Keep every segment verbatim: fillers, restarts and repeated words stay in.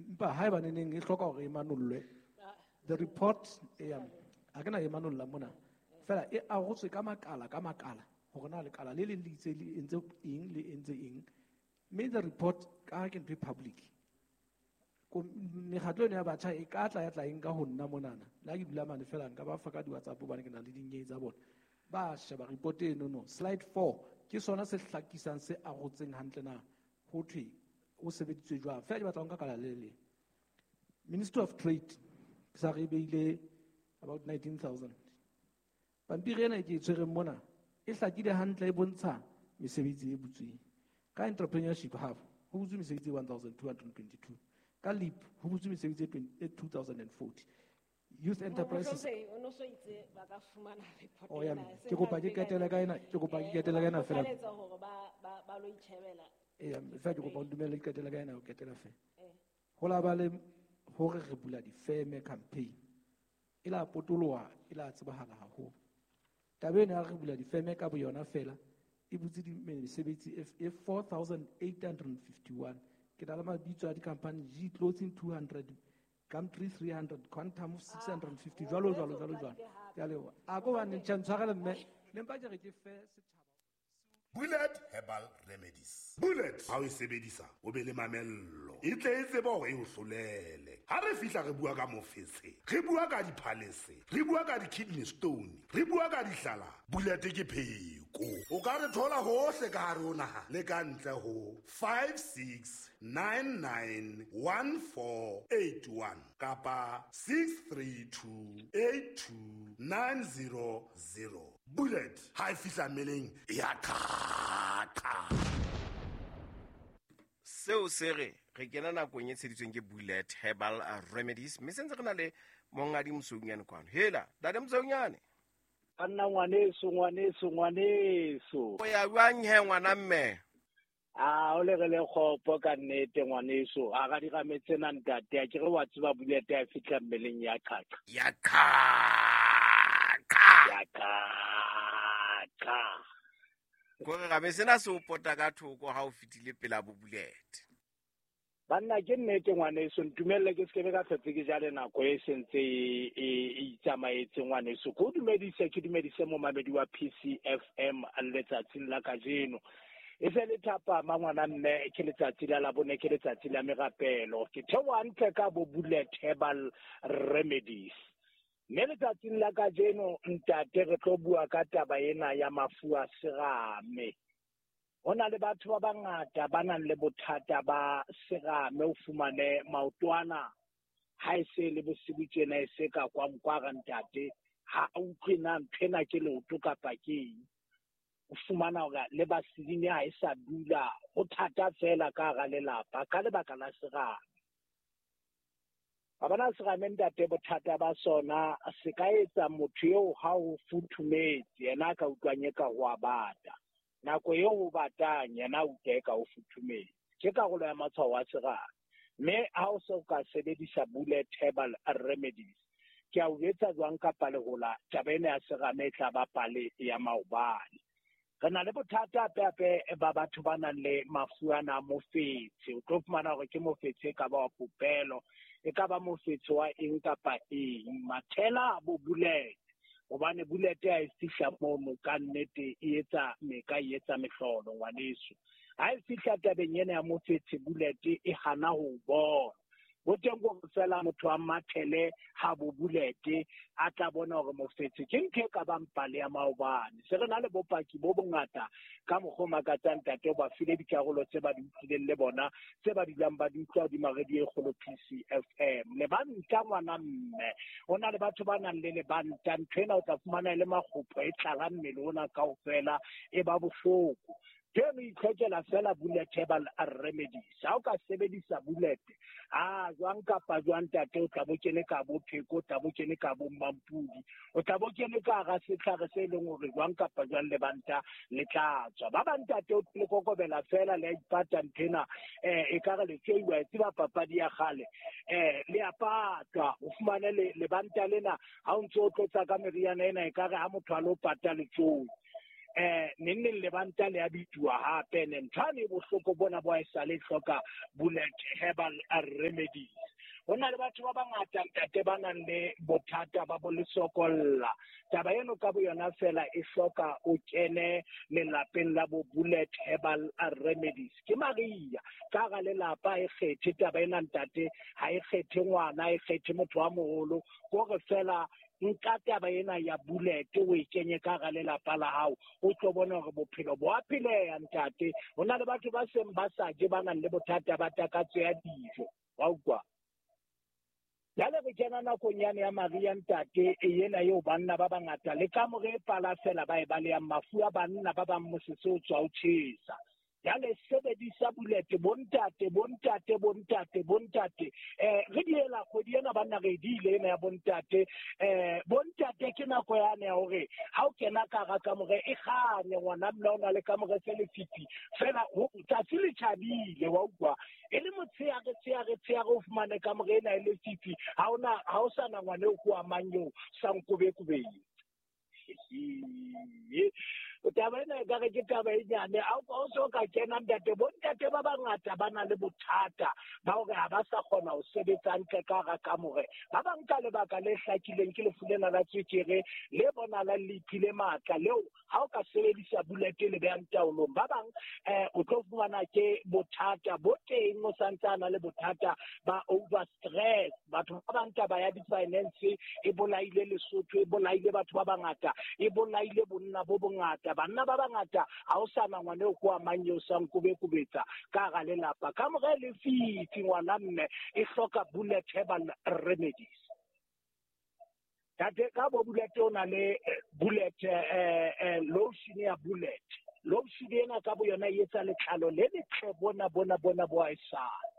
Empa haeba neneng e hloka hore e manollwe, the report e ha ke na e manolla mona. Fela e arotswe ka makala ka makala hore na lekala le leng le itse le entse eng le entse eng. Mme the report ka ha ke ntho e public. Mekgatlo ena ya batjha e ka tla ya tla e nka ho nna monana. Le ha ke dula mane fela nka ba fa ka di-WhatsApp hobane ke na le dinyewe tsa bona. Ba sheba report eno no. Slide four ke sona se hlakisang se arotseng hantle na ho thwe o sebeditswe jwang. Fela ke batla ho nka kala le leng. Ministry of Trade ke sa re beile about nineteen thousand. Pampiri ena e ke e tshwereng mona e hlakile hantle e bontsha mesebetsi e butsweng. Ka entrepreneurship hub ho butswe mesebetsi e one thousand two hundred and twenty-two. Ka LEAP ho butswe mesebetsi e two thousand and forty. Youth enterprises. O no so itse ba ka fumana report Oh, ya, ena. ke kopa ke qetele ka ena, ke kopa ke qetele ka ena fela. Kgothaletsa hore ba, ba, ba lo itjhebela. Eya, fela ke kopa o ntumelle ke qetele ka ena, o qetela fela. Eh. Ho la ba le hore re bula difeme campaign. E la potoloha, e la tsebahala haholo. Taba ena ya re bula difeme ka boyona fela, e butse di mesebetsi e, e four thousand eight hundred and fifty-one. Ke na le mabitso a di-company, G Clothing two hundred, Gumtree three hundred, Quantum six hundred and fifty, jwalo, jwalo, jwalo, jwalo. Ke a leboha. A ko bane, tjhe, ntshwarele mme. Ne mpa ke re ke fe setjhaba. Bullet Herbal Remedies. Bullet ha o e sebedisa o be le mamello. E tle e tsebe hore e o hlolele. Ha re fihla re bua ka mofetshe, re bua ka diphalese, re bua ka di-kidney stone, re bua ka dihlala. Bullet ke pheko. O ka re thola hohle ka hare ho naha le ka ntle ho five six nine nine one four eight one kapa six three two eight two nine zero zero. Bullet ha e fihla mmeleng e ya qhaqa. Seo se re re kena nakong e tsheditsweng ke Bullet Herbal Remedies, mme sentse re na le Monghadi Mosoeunyane kwano. Hela, Ntate Mosoeunyane. Banna ngwaneso, ngwaneso, ngwaneso. O ya jwang he ngwana mme? Ah, o le re le kgopo ka nnete ngwaneso. A ga di rametse na ntate, a ke re wa tseba Bullet ya fihla mmeleng ya qhaqa. Ya qhaqa. Ya qhaqa. Kore rabe sena se o pota ka thoko ha o fetile pela bo Bullet. Banna ke nnete ngwaneso, ntumelle ke sekebe ka hlotse ke jale nako e sentse e, e, e itsamaetse ngwaneso. Ke o dumedise, ke dumedise momamedi wa P C F M letsatsing la kajeno. E se le thapama ngwana mme, ke letsatsi la Labone, ke letsatsi la merapelo. Ke theoha hantle ka bo Bullet Herbal Remedies. Mme letsatsing la kajeno ntate re tlo bua ka taba ena ya mafu a serame. Ho na le batho ba bangata ba nang le bothata ba serame, o fumane maotwana ha e se le bosibu tjena e se ka kwa nkwara ntate, ha a utlwe na ntho ena ke leoto kapa ke eng. O fumana hore le basedine ha e sa dula, ho thata fela ka hara lelapa ka lebaka la serame. Ba bona serame ntate, bothata ba sona se ka etsa motho eo ha o futhumetse, yena a ka utlwang eka ho a bata. Nako eo o batang, yena a utlwa eka o futhumetse. Ke karolo ya matshwao a serame. Mme ha o se o ka sebedisa Bullet Herbal Remedies, ke a o jwetsa jwang kapa lehola, taba ena ya serame e tla ba pale ya maobane. Re na le bothata hape hape ba batho ba nang le mafu ana a mofetshe. O tlo fumana hore ke mofetshe e ka ba wa popelo, e ka ba mofetshe wa eng kapa eng. Mathela a bo Bullet, hobane Bullet ha e fihla mono ka nnete e etsa meka, e etsa mehlolo ngwaneso. Ha e fihla tabeng ena ya mofetshe, Bullet e hana ho bona. Bo teng hore fela motho a mathele ha bo Bullet a tla bona hore mofetshe ke ntho e ka bang pale ya maobane. Se re na le bopaki bo bongata ka mokgwa o makatsang ntate, o ba file dikarolo tse ba di utlwileng le bona, tse ba dulang ba di utlwa hodima radio e kgolo P C F M. Lebanta ngwana mme, ho na le batho ba nang le lebanta, ntho ena o tla fumana e le makgopho e tlala mmele ona kaofela, e ba bohloko. Teng o itlhokela fela Bullet Herbal Remedies. Ha o ka sebedisa Bullet, ah, jwang kapa jwang ntate, o tla bo kene ka bo pheko, o tla bo kene ka bo mmampudi, o tla bo kene ka hara setlhare se leng hore jwang kapa jwang lebanta le tla tswa. Ba bang ntate o le kokobela fela, le a ipata nthena, eh, e ka re le tseiwa, e tseba papadi ya kgale, eh, le a patwa, o fumane le, lebanta lena ha o ntse o tlotsa ka meriana ena, e ka re ha motho a lo pata letsoi. Eh neng neng lebanta le a bituwa hape ne nthwane bohloko bona bo a sale hloka Bullet Herbal Remedies. Ho na le batho ba bangata ntate ba nang le bothata ba bo lesokolla. Taba eno ka bo yona fela e hloka o kene lelapeng la bo Bullet Herbal Remedies. Ke Maria ka ga lelapa e kgethe taba ena ntate, ha e kgethe ngwana, e kgethe motho wa moholo, kore fela nka taba ena ya Bullet o e kenye ka ga lelapa la hao, o tlo bona hore bophelo bo a pheleha ntate. Ho na le batho ba seng ba sa je ba nang le bothata ba takatso ya dijo, wa utlwa. Jwale re kena nakong yane ya Maria ntate, ena eo banna ba bangata le kamore e pala fela ba e balehang mafu a banna ba bang mosese o tswa o tjhesa. Jwale sebedisa Bullet bontate bontate bontate bontate. Eh re diela kgwedi ena banna re diile ena ya bontate. Eh bontate ke nako yane ya hore ha o kena ka hara kamore e kganye ngwana mme o na le kamore se lefifi fela tsatsi le tjhabile, wa utlwa. E le motshehare tshehare tshehare o fumane kamore ena e lefifi, ha ona ha o sa na ngwana eo ko amang eo sa nkobekobeng. Taba ena ekare ke taba e nyane, ha o so ka kena ntate. Bontate ba bangata ba na le bothata ba hore ha ba sa kgona ho sebetsa hantle ka hara kamore. Ba bang ka lebaka le hlakileng ke lefu lena la tswekere le bonahalang le iphile matla leo ha o ka sebedisa Bullet le behang taolong. Ba bang eh o tlo fumana ke bothata bo teng, o santsana le bothata ba over stress. Batho ba bang taba ya di-finance e bolaile Lesotho, e bolaile batho ba bangata, e bolaile bonna bo bongata. Banna ba bangata ha o sa na ngwana eo ko amang eo sa nkobekobetsa ka hara lelapa. Kamore e lefifi ngwana mme e hloka Bullet Herbal Remedies. Tate ka bo Bullet o na le Bullet eh, eh, lotion ya Bullet. Lotion ena ka bo yona e etsa letlalo le letle bona bona bona bo a esale.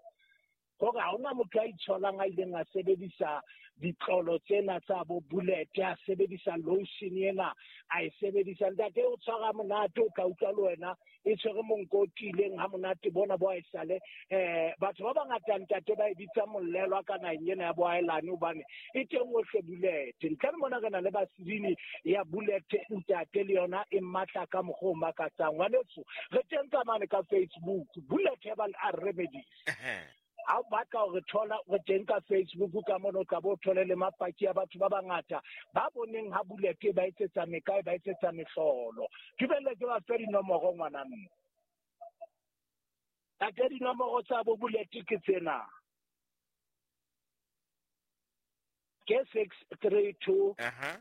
Hore ha hona motho a itsholang a ileng a sebedisa ditlolo tsena tsa bo Bullet, a sebedisa lotion ena, a e sebedisa ntate o tshwara monate, o tla utlwa le wena e tshwere monko o tiileng ha monate bona bo a esale. Eh batho ba bangata ntate ba e bitsa mollelwa ka naheng ena ya boahelane hobane e teng hohle Bullet. Ntle le mona re na le vaseline ya Bullet ntate, le yona e matla ka mokgwa o makatsang. Ngwaneso re teng ka mane ka Facebook, Bullet Herbal Remedies. Ha o batla hore thola re teng ka Facebook ka mona, o tla bo thole le mapaki a batho ba bangata ba boneng ha Bullet ba etsetsa mekae, ba etsetsa mehlolo. Dumelle ke ba fe dinomoro ngwana mme. Tate dinomoro tsa bo Bullet ke tsena. Ke six three two. Aha.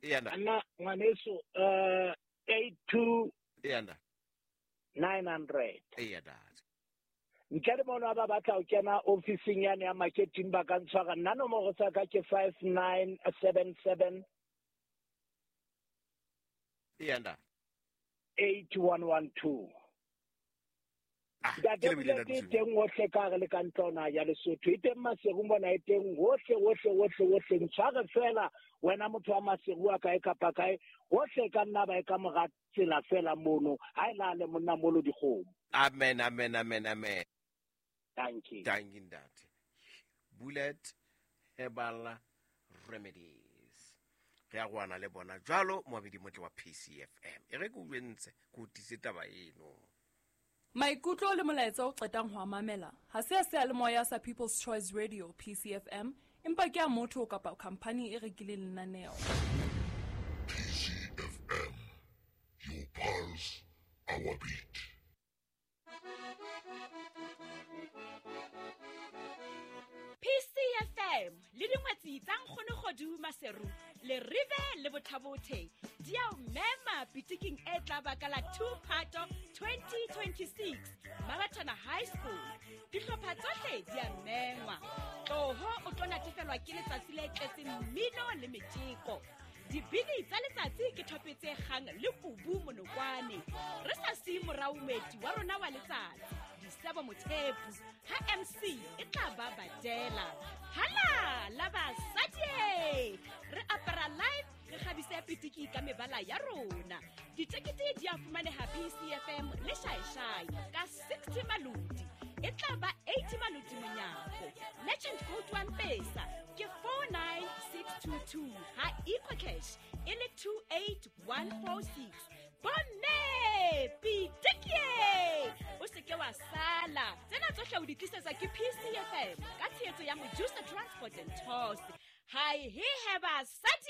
Yana. Nna ngwaneso eh eight two. Yana. nine hundred. Eya ntate. Ntle le mono ba batla ho kena ofising yane ya marketing ba ka ntshwara. Nna nomoro tsa ka ke five nine seven seven. Eya ntate. eight one one two. Ntate Bullet e teng hohle ka hare le ka ntlwana ya Lesotho. E teng Maseru mona, e teng hohle hohle hohle hohle. Ntshware fela wena motho wa Maseru a kae kapa kae, hohle ka nna ba e ka mora tsela fela mono. Ha e lale monna molo dikgomo. Amen, amen, amen, amen. Thank you. Thank you ntate. Bullet Herbal Remedies. Re a gwana le bona jwalo moabedi motle wa P C F M. E re ke o entse ke o tise taba eno. Maikutlo le molaetsa o qetang ho a mamela ha se a seyalemoya sa People's Choice Radio P C F M, empa ke a motho kapa khampani e rekileng lenaneo. P C F M, your pulse, our beat. P C F M le dingwetsi tsa Nkgono Kgodu Maseru le Rive le Bothabothe di a o mema pitiking e tla ba ka la two Phato twenty twenty-six Mabatana High School. Dihlopha tsohle di a mengwa. Tloho o tlo natefelwa ke letsatsi le tletseng mmino le metjeko. Dibini tsa letsatsi ke thope tse kgang le kubu monokwane. Re sa siye morao moeti wa rona wa letsatsi, Disebo Mothepu, ha M C e tla ba badela. Hala la basadi! Re apara live, re kgabise pitiki ka mebala ya rona. Ditekete di a fumaneha P C F M le Shaishai ka sixty malodi. E E tla ba eighty maloti monyako. Merchant code wa M-Pesa ke four nine six two two, ha EcoCash e le two eight one four six. Bomme, pitikie! O se ke wa sala. Tsena tsohle o di tlisetswa ke P C F M ka tshehetso ya Mojusa Transport and Tours. Hai he he basadi.